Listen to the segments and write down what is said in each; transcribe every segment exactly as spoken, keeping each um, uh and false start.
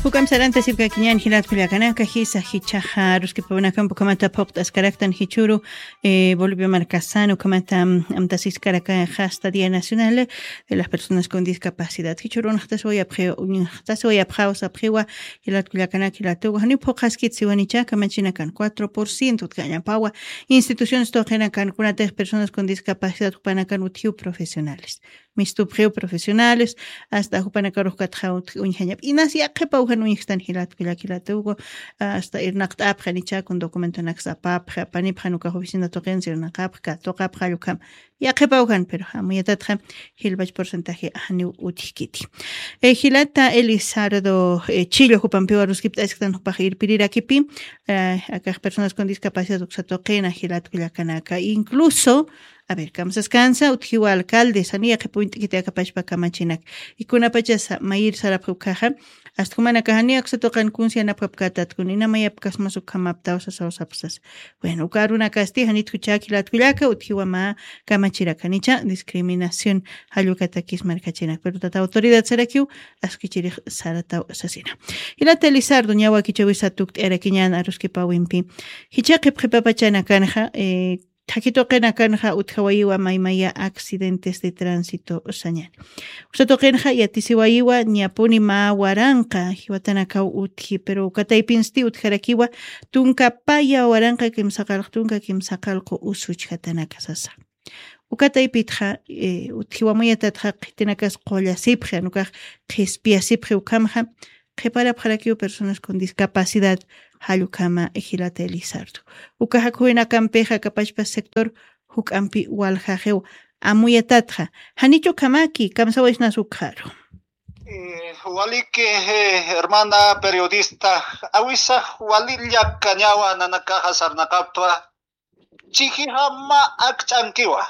Juk'amp sarantasipkakiñän jilat kullakanaka, jisa jichhaxa aruskipawinakamp ukhamata phuqt'askaraktan jichhüru, eh, Bolivia markasan ukhamata, mm, amtasiskarakxa hasta Día Nacional de las Personas con Discapacidad. Jichhüru uñjtasiwayapxi-, uñjtasiwayapxaw sapxiwa jilat kullakanaka, jilat uka, janiw phuqhaskit siwanicha kamachinakan cuatro por ciento utjañapawa instituciones tuqinakan, kunatix personas con discapacidad jupanakan utjiw profesionales. Mistupxiw profesionales, hasta jupanakarux katxa utji uñjañap. Inas yaqhipaw jan uñjstan jilat kullaka, jilat uka, hasta irnaqt'apxi, janicha kun documentonaks apapxi, apanipxi, jan ukax oficina tuqinsa irnaqapxi, katuqapxi, jall ukham. Yaqhipaw jan, pero amuyatatxa jilpach porcentaje janiw utjkiti. Eh, jilata Elizardo, eh, Chillo jupampiw aruskipt'asktan jupax irpirirakipi, eh, akax personas con discapacidad uksa tuqina jilat kullakanaka. Incluso, a ver, kamsaskansa, utjiwa alcaldes, janiw yaqhip uñt'kiti aka pachpa kamachinak. Y kunapachasa mayir sarapxi ukkhaxa, hasta jumanakax janiw aksa tuqin kuns yanapkapkätat, kun ina mayapkasmas ukhamaptaw sasaw sapxi sasa. Bueno, uka arunakasti janit juchak jilat kullaka, utjiwa mä kamachirak, janicha discriminación jall ukatakis markachinak. Pero tata autoridad sarakiw, askichirix sarataw sasina. Jilata Elizardo, niya wakichäwisa tukt'ayarakiñän aruskipawimpi. Jichha qhipqipapachanakanxa, eh, thakhi tuqinakanxa utjawayiwa maymaya accidentes de tránsito sañäni. Uksa tuqinxa yatisiwayiwa, niyapuni mä waranqa jiwatanakaw utji, pero uka taypinsti utjarakiwa tunka paya waranqa kimsa qallq tunka kimsa qallqu us juchjatanaka sasa. Uka taypitxa, eh, utjiwa amuyatatxa qhitinakas qullasipxi, jan ukax qhispiyasipxi ukhamxa, qhiparapxarakiw personas con discapacidad, jall ukhama jilata Elizardo. Uka jakhuwinakampixa aka pachpa sector juk'ampi waljaxiw amuyatatxa. Janicha ukhamaki, kamsawaysnas ukkharu. Eh, waliki, eh, hermana periodista, awisax walilla kañawa nanakaxa sarnaqaptwa, chijixa mä akch'ankiwa.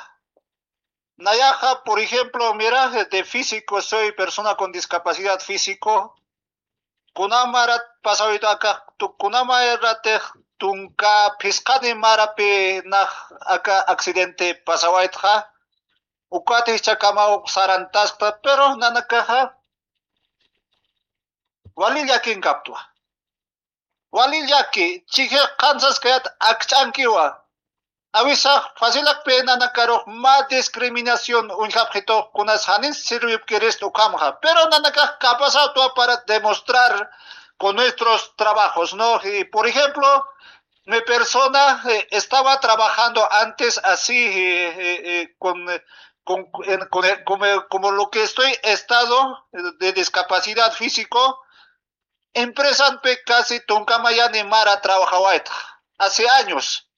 Nayaxa, por ejemplo, mira, de físico, soy persona con discapacidad físico. Kunamarat pasawayta aka, tu-, kunamaratix tunka phisqani marapi nax aka accidente pasawaytxa. Ukatix chakamaw sarantaskta, pero nanakaxa wali llakinkaptwa. Wali llaki, chijix qhansaskayat akch'ankiwa. Awisax facilakpi nanakarux mä discriminación uñjapxitux kunas janis sirvipkirist ukhamxa. Pero nanakax capazatwa para demostrar con nuestros trabajos, ¿no? Y, por ejemplo, mi persona, eh, estaba trabajando antes así, eh, eh, eh, con, eh, con, en, con el, como, como lo que estoy estado de discapacidad físico, empresanpi casi tunka mayani mara trabajawayta hace años.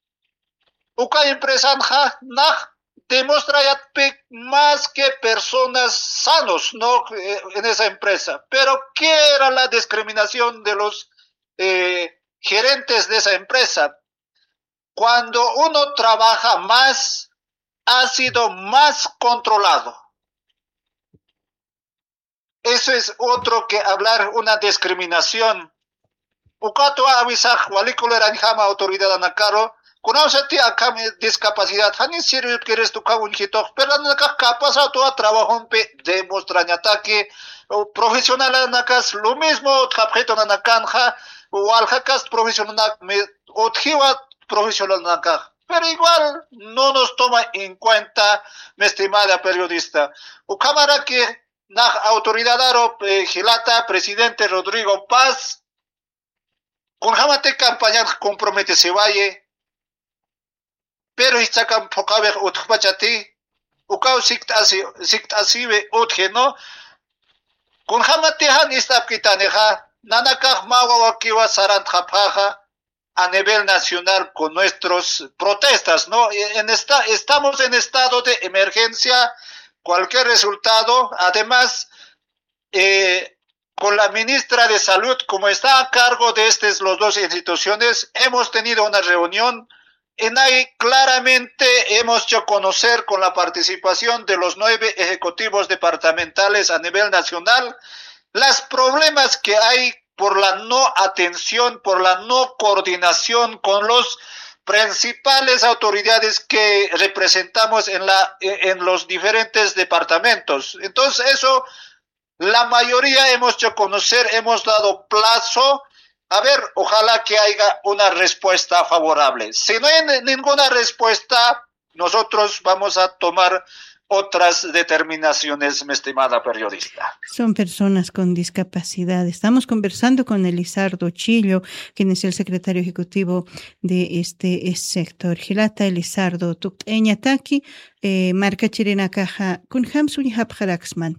Uka empresanxa nax demostrayatpi más que personas sanos, ¿no? Eh, en esa empresa. Pero, ¿qué era la discriminación de los, eh, gerentes de esa empresa? Cuando uno trabaja más, ha sido más controlado. Eso es otro que hablar una discriminación. Ukatwa awisax walikulirañjama autoridad anakaro, kunawsati akham discapacidad, janis sirvipkirist uka uñjitux, pero nanakax capazatwa trabajompi demostrañataki, o profesional anakas lo mismo utjapxitu nanakanxa, waljakas profesional mi-, utjiwa profesional anakax. Pero igual no nos toma en cuenta, mi estimada periodista. Ukhamaraki, nax autoridad aro, eh, jilata presidente Rodrigo Paz, kunjamati campañan comprometesiwayi, pero jichhakam phuqhawix utjpachati, ukaw sikt'asi, sikt'asiwi utji, ¿no? Kunjamati jan ist'apkitanixa, nanakax mä wawakiwa sarantxapxaxa, a nivel nacional con nuestros protestas, ¿no? En esta, estamos en estado de emergencia, cualquier resultado, además, eh, con la ministra de Salud, como está a cargo de estas los dos instituciones, hemos tenido una reunión en ahí claramente hemos hecho conocer con la participación de los nueve ejecutivos departamentales a nivel nacional las problemas que hay por la no atención, por la no coordinación con los principales autoridades que representamos en la, en los diferentes departamentos. Entonces, eso La mayoría hemos hecho conocer, hemos dado plazo. A ver, ojalá que haya una respuesta favorable. Si no hay ni-, ninguna respuesta, nosotros vamos a tomar otras determinaciones, mi estimada periodista. Son personas con discapacidad. Estamos conversando con Elizardo Chillo, quien es el secretario ejecutivo de este, eh, sector. Jilata Elizardo, tukt'ayañataki, eh, markachirinakaxa, kunjams uñjapxaraksman.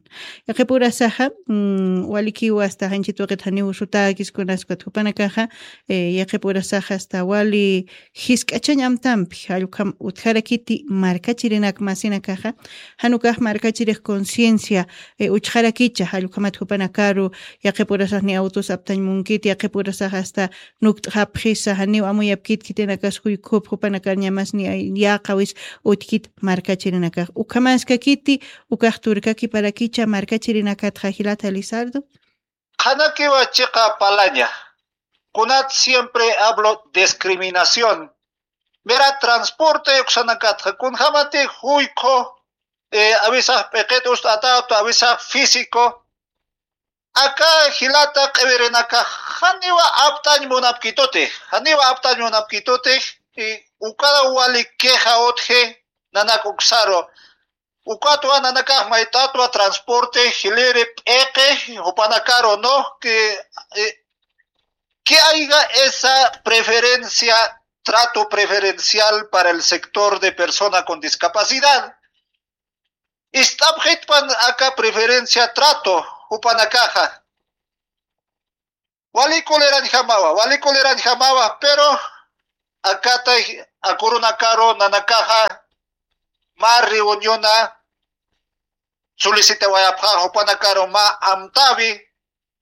Yaqhipurasaxa, mm, walikiwa hasta janchit waqit janiw sutäkis kunaskat jupanakaxa, eh, yaqhipurasaxa hasta wali jisk'achañ amtampi, jall ukham utjarakiti markachirinak masinakaxa, jan ukax markachirix conciencia, eh, uchxarakicha, jall ukhamat jupanakaru, yaqhipurasax ni autos aptañ munkit, yaqhipurasax hasta nukt'xapxisa, janiw amuyapkit khitinakas juykhup, jupanakar ñamas ni ay-, yäqawis utjkit markachirinakax. Ukhamaskakiti, ukax turkakiparakicha markachirinakatxa jilata Elizardo. Qhanakiwa chiqa palaña. Kunat siempre hablo discriminación. Mira, transporte uksanakatxa, kunjamati juykhu, eh, awisax p'iqit ust'atätu, awisax físico. Aka jilata q'iwirinakax janiwa aptañ munapkitutix, janiwa aptañ munapkitutix, y uka wali queja utji nanak uksaru. Ukatwa nanakax mayt'atwa transporte, jiliri, p'iqi, jupanakaru, ¿no? Que, eh, que haya esa preferencia, trato preferencial para el sector de persona con discapacidad. Ist'apxitpan aka preferencia trato, jupanakaxa. Wali kulirañjamawa, wali kulirañjamawa, pero akatay akurunakaru nanakaxa mä reuniona solicitawayapxä jupanakaru mä amtäwi,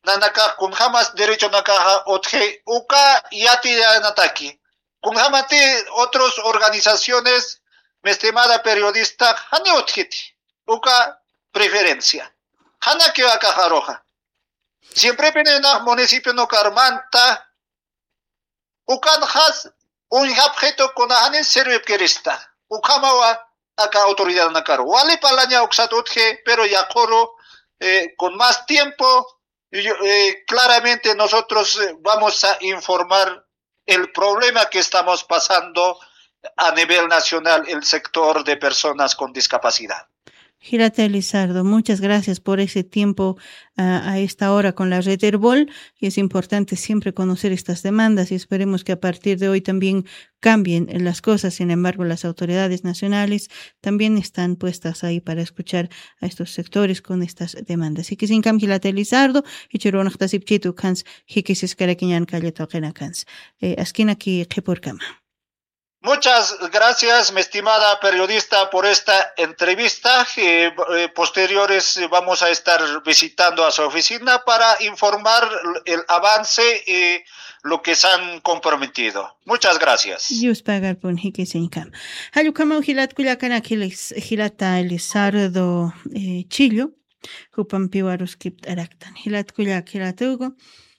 nanakax kunjamas derechonakaxa utji uka yatiyanataki. Kunjamati otros organizaciones, mi estimada periodista, jani utjiti uka preferencia. Janakiw akaxaruxa. Siemprepiniw nax municipio Nucarmanta, ukanxas uñjapxitu kuna jani sirvipkirista. Ukhamawa aka autoridadnakaru. Wali palaña uksat utji, pero yaqhuru, eh, con más tiempo, yo, eh, claramente nosotros, eh, vamos a informar el problema que estamos pasando a nivel nacional, el sector de personas con discapacidad. Jilata Elizardo, muchas gracias por ese tiempo, ah, a esta hora con la Red Erbol. Y es importante siempre conocer estas demandas y esperemos que a partir de hoy también cambien las cosas. Sin embargo, las autoridades nacionales también están puestas ahí para escuchar a estos sectores con estas demandas. Jikisiñkam jilata Elizardo, jichhürunxtasipchitu ukhans jikisiskarakiñän kallata waqinakans. Eh, askinaki qhipürkama. Muchas gracias, mi estimada periodista, por esta entrevista. Eh, eh, posteriores, eh, vamos a estar visitando a su oficina para informar el avance y lo que se han comprometido. Muchas gracias. Yuspagarpun jikisiñkam. Jall ukhamaw jilat kullakanak jilis-, jilata Elizardo, eh, Chillo, jupampiw aruskipt'araktan. Jilat kullak, jilat Hugo.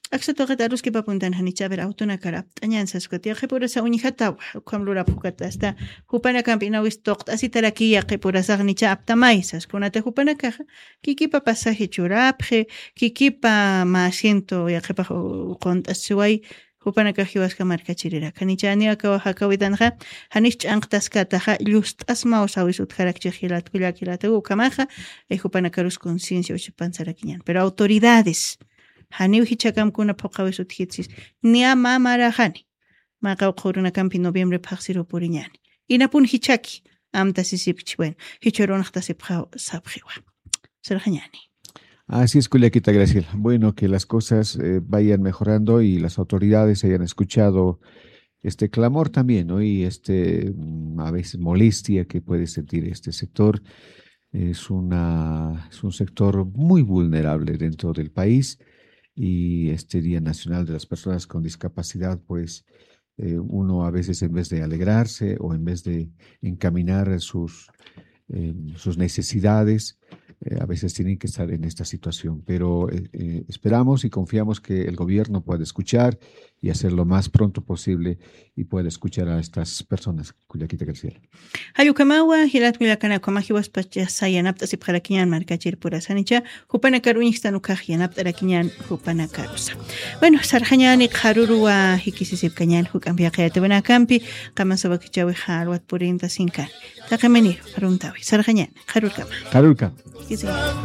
Aksat waqit aruskipapuntan janicha, a ver, autonakar apt'añän saskat. Yaqhipurasa uñjatawa, ukham lurapxukat hasta jupanakampi inawis tuqt'asitarakiy yaqhipurasax nicha aptamay sas. Kunata jupanakaxa, kikipa pasaje churapxi, kikipa mä asiento yaqhipax u-, qunt'asiway, jupanakax jiwaska markachiriraka. Janicha janiw aka jakäwitanxa, janis ch'anqtaskataxa, llust'asmaw sawis utjarakchix jilat kullak, jilat Hugo, ukhamaxa, eh, jupanakarus conciencia uchapan sarakiñän. Pero autoridades, janiw jichhakam kuna phuqhawis utjitsis. Niya mä maraxani. Mä qawqha urunakampi noviembre phaxsiru puriñäni. Inapun jichhaki, amtasisipchi, bueno, jichhürunxtasipxaw sapxiwa. Sirxañäni. Así es, kullakita Graciela. Bueno, que las cosas, eh, vayan mejorando y las autoridades hayan escuchado este clamor también, ¿no? Y este, mm, a veces molestia que puede sentir este sector. Es una, es un sector muy vulnerable dentro del país y este Día Nacional de las Personas con Discapacidad, pues, eh, uno a veces en vez de alegrarse o en vez de encaminar sus, eh, sus necesidades, eh, a veces tienen que estar en esta situación. Pero, eh, eh, esperamos y confiamos que el gobierno pueda escuchar y hacer lo más pronto posible y poder escuchar a estas personas. Kullakita Graciela. Jallukamawa jilat kullakanakama jiwaspacha sayanapt'asipxarakiñan markachir purasanicha, jupanakar uñjstan ukax yanapt'arakiñan jupanakarusa. Bueno, sarxañani qharurwa jikisisipkañan juk'ampi jaqayatiwanakampi, qamasawakichawi jalwat purinta sinkan. Taqiminiru qharuntawi sarxañani qharurkama. Qharurkama. Jikisiñan.